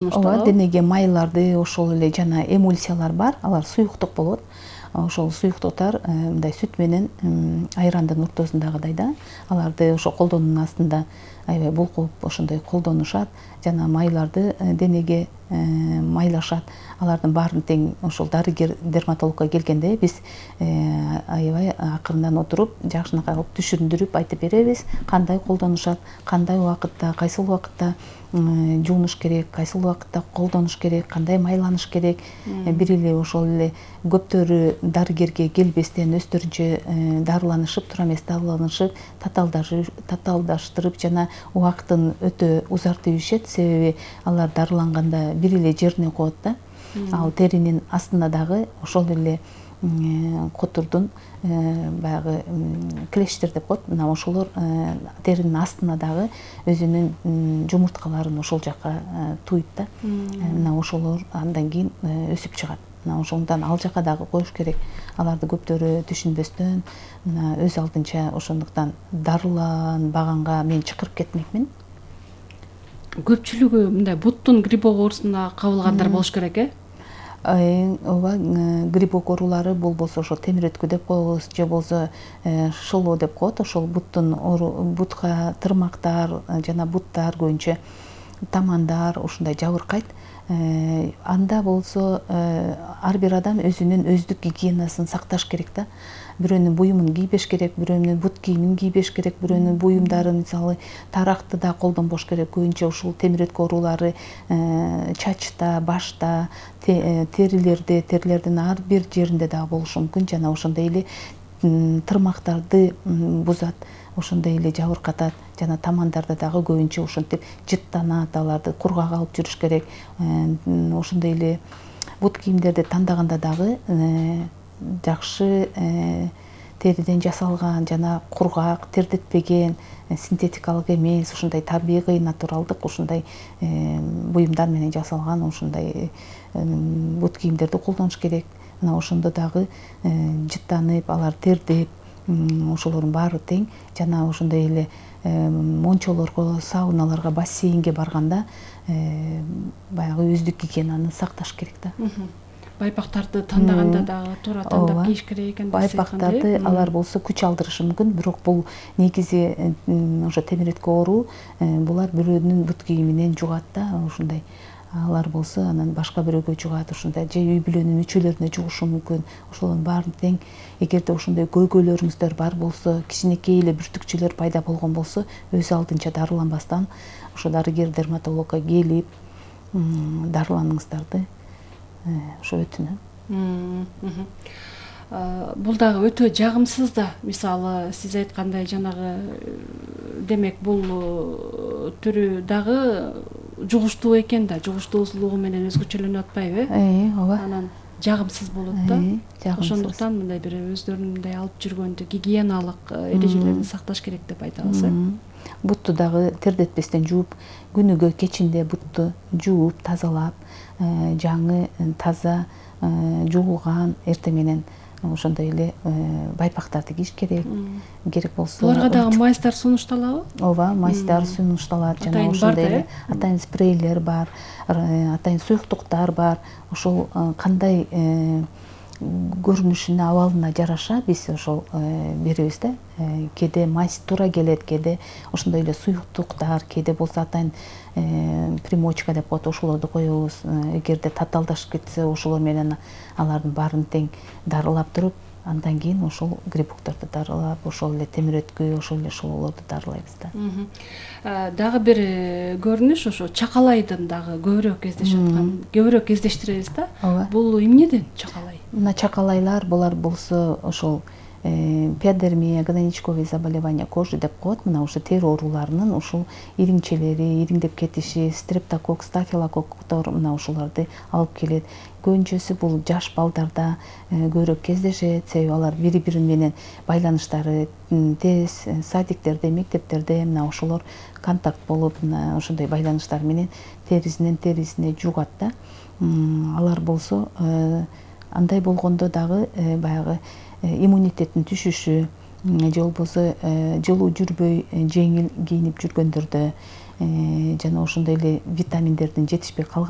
ооба, денеге майларды, ошол эле жана эмульсиялар бар, алар суюктук болот. Ошол суюктуктар мындай сүт менен айрандын ортосундагыдай да, аларды ошо колдонуунун астында аябай булкуп ошондой колдонушат жана майларды денеге майлашат. Алардын баарын тең ошол дарыгер дерматологко келгенде биз аябай акырындан отуруп, жакшынакай кылып түшүндүрүп айтып беребиз, кандай колдонушат, кандай убакытта, кайсыл убакытта жуунуш керек, кайсыл убакытта колдонуш керек, кандай майланыш керек. Бир эле ошол эле көптөрү дарыгерге келбестен өздөрүнчө дарыланышып, туура эмес дарыланышып, татаалдаштырып жана убактын өтө узартып ишет. Себеби алар дарыланганда бир эле жерине коет да. Ал теринин астына дагы ошол эле котурдун баягы клещтер деп коет. Мына ошолор теринин астына дагы өзүнүн жумурткаларын ошол жака туйт да. Мына ошолор андан кийин өсүп чыгат. Мына ошондон ал жака дагы коюш керек. Аларды көптөрү түшүнбөстөн, мына өз алдынча ошондуктан дарыланбаганга мен чакырып кетмекмин. Көпчүлүгү мындай буттун грибок оорусуна кабылгандар болуш керек, ооба, грибок оорулары болбосо ошо темирөткү деп коебуз, же болбосо шылоо деп коет. Ошол бутка тырмактар жана буттар, көбүнчө тамандар ушундай жабыркайт. Анда болсо ар бир адам өзүнүн өздүк гигиенасын сакташ керек да. Бирөөнүн буюмун кийбеш керек, бирөөнүн бут кийимин кийбеш керек, бирөөнүн буюмдарын, мисалы, таракты да колдонбош керек. Көбүнчө ушул темирөткү оорулары чачта, башта, терилердин ар бир жеринде дагы болушу мүмкүн. Жана ошондой эле тырмактарды бузат, ошондой эле жабыркатат. Жана тамандарда дагы көбүнчө ошентип жыттанат, аларды кургак алып жүрүш керек. Ошондой эле бут кийимдерди тандаганда дагы жакшы териден жасалган жана кургак, тердетпеген, синтетикалык эмес, ушундай табигый, натуралдык ушундай буюмдар менен жасалган ушундай бут кийимдерди колдонуш керек. Мына ошондо дагы жыттанып, алар тердеп, ошолордун баары тең. Жана ошондой эле мончолорго, сауналарга, бассейнге барганда баягы өздүк гигиенаны сакташ керек да. Байпактарды тандаганда дагы туура тандап кийиш керек экен. Байпактарды алар болсо күч алдырышы мүмкүн, бирок бул негизи ошо темирөткү оору булар бирөөнүн бут кийиминен жугат да, ушундай. Алар болсо анан башка бирөөгө жугат, ушундай же үй бүлөнүн мүчөлөрүнө жугушу мүмкүн. Ошолордун баарын тең. Эгерде ошондой көйгөйлөрүңүздөр бар болсо, кичинекей эле бүртүкчөлөр пайда болгон болсо, өз алдынча дарыланбастан ошо дарыгер дерматологко келип дарыланыңыздарды ошо өтүнөм. Бул дагы өтө жагымсыз да. Мисалы, сиз айткандай жанагы, демек бул түрү дагы жугуштуу экен да, жугуштуусулугу менен өзгөчөлөнүп атпайбы? Ооба. Анан жагымсыз болот да. Ошондуктан мындай бир өздөрүндөй алып жүргөндө гигиеналык эрежелерин сакташ керек деп айтабыз. Бутту дагы тердетпестен жууп, күнүгө кечинде бутту жууп, тазалап, жаңы, таза, жуулган эртең менен ошондой эле байпактарды кийиш керек. Керек болсо буларга дагы майстар сунушталабы? Ооба, майстар сунушталат. Жана ошондой эле атайын спрейлер бар, атайын суюктуктар бар. Ошол кандай көрүнүшүнө, абалына жараша биз ошол беребиз да. Кээде майс туура келет, кээде ошондой эле суюктуктар, кээде болсо атайын примочка деп коет, ошолорду коебуз. Эгерде татаалдашып кетсе, ошолор менен алардын баарын тең дарылап туруп, андан кийин ошол грибокторду дарылап, ошол эле темирөткү, ошол эле шылоолорду дарылайбыз да. Дагы бир көрүнүш ошо чакалайдын дагы көбүрөөк кездешип аткан, көбүрөөк кездештиребиз да. Бул эмнеден чакалай? Мына чакалайлар булар болсо ошол пиодермия, гнойничковые заболевания кожи деп коет. Мына ошо тери ооруларынын ушул ириңчелери, ириңдеп кетиши, стрептококк, стафилококктор мына ошолорду алып келет. Көбүнчөсү бул жаш балдарда көбүрөөк кездешет, себеби алар бири-бири менен байланыштары тез, садиктерде, мектептерде мына ошолор контакт болуп, мына ошондой байланыштар менен терисинен терисине жугат да. Алар болсо андай болгондо дагы баягы иммунитеттин түшүшү, же болбосо жылуу жүрбөй жеңил кийинип жүргөндөрдө жана ошондой эле витаминдердин жетишпей калган